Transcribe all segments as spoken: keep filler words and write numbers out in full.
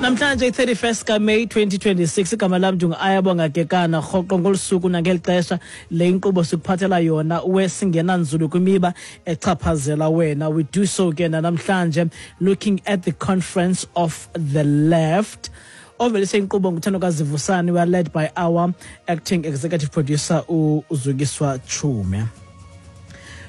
Namhlanje i-thirty-first kaMeyi twenty twenty-six. Igama lam ndingu-Ayabonga Kekana. Rhoqo ngolu suku nangeli xesha, le inkqubo sikuphathela yona wesingena nzulu kwimiba echaphazela wena. We do so ke namhlanje looking at the Conference of the Left. Ovelise inkqubo nguThandokazi Vusani. We are led by our acting executive producer, uZukiswa Chume.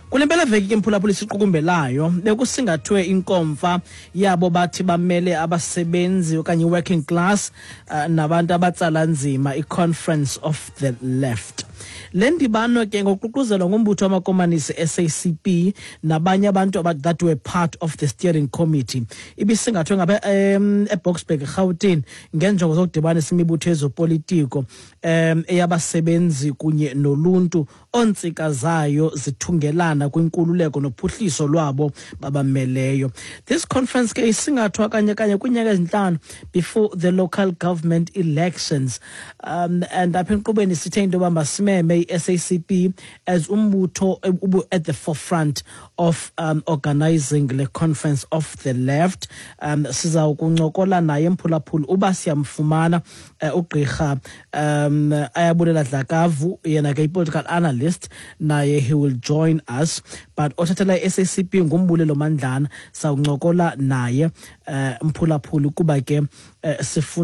Kule mpelaveki ke, mphulaphula, isiqukumbelayo bekusingathwe inkomfa yabo bathi bamele abasebenzi okanye working class uh, nabantu abatsala nzima, i-Conference of the Left. Le ndibano ke ngokuququzelwa ngumbutho wamakomanisi S A C P nabanye abantu that were part of the steering committee ibisingathwe ngabe um, eBoksburg, eRhawutini, ngenjongo zokudibanisa imibutho yezopolitiko um eyabasebenzi kunye noluntu ontsika zayo zithungelana kwinkululeko nophuhliso lwabo babameleyo. This conference ke isingathwa kanye kanye kwiinyanga ezintlanu before the local government elections, um and apha enkqubeni sithe into yoba masimeme i-S A C P as umbutho ubu at the forefront of um, organizing le Conference of the Left. um siza kuncokola naye, mphulaphuli, uba siyamfumana uh, ugqirha um Ayabulela Dlakavu. Yena ke i-political analyst, naye he will join us, but othathela i-S A C P nguMbulelo Mandlana. Sawuncokola naye, uh, mphulaphuli, kuba ke uh, sifuna